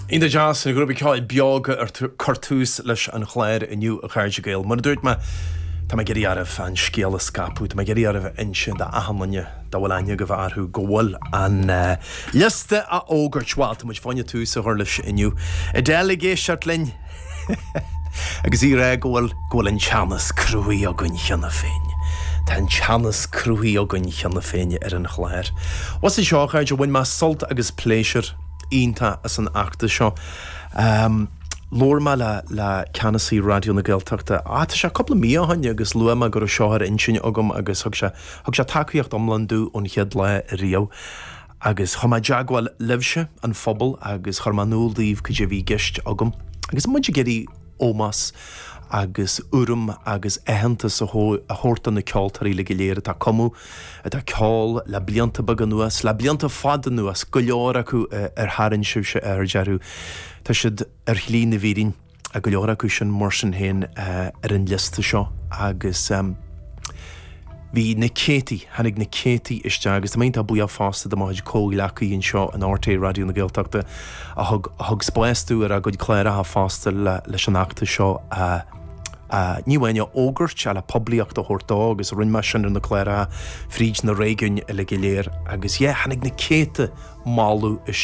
Iontach deas, an grúpa ceoil Beoga ag cur tús leis an chlár inniu, a chairde Gael. Mar a dúirt mé, tá mé ag iarraidh oraibh an scéal a scaipeadh, tá mé ag iarraidh oraibh a inse d'achan duine dá bhfuil aithne agaibh orthu go bhfuil an liosta á fhógairt. Bhuel, tá muid fá choinne tús a chur leis inniu. Adele ag éisteacht linn! Agus í ag rá go bhfuil, go bhfuil an teannas cruthaithe againn cheana féin. Tá an teannas cruthaithe againn cheana féin ar an chlár. Bhuel seo, a chairde, bhain mé sult agus pléisiúr iontach as an fheachtas seo. Labhair mé le, le ceannasaí Raidió na Gaeltachta, ah, tá sé cúpla mí ó shin agus luaigh mé go raibh seo ar intinn agam agus thug sé, thug sé tacaíocht iomlán domh ón chéad lá riamh. Agus chuaigh mé i dteagmháil libhse, an phobal, agus chuir mé in iúl daoibh cad é a bhí i gceist agam. Agus muid ag iarraidh ómós agus urraim agus aitheantas a thabhairt do na ceoltóirí uilig go léir atá ag cumadh, atá ag ceol le blianta beaga anuas, le blianta fada anuas, go leor acu ar tharraing sibhse aird orthu. Tá siad ar shlí na bhfírinne. go leor acu sin mar sin féin ar an liosta seo agus bhí na céadtaí, tháinig na céadtaí isteach agus tá mé iontach buíoch fosta do mo chuid comhghleacaí anseo in RTÉ Raidió na Gaeltachta a thug a thug spás dúinn ar a gcuid cláracha fosta le leis an fheachtas seo a a ní amháin a fhógairt ach le poiblíocht a thabhairt dó agus rinne mé sin ar na cláracha fríd na réigiúin uilig go léir agus yeah tháinig na céadta moladh isteach.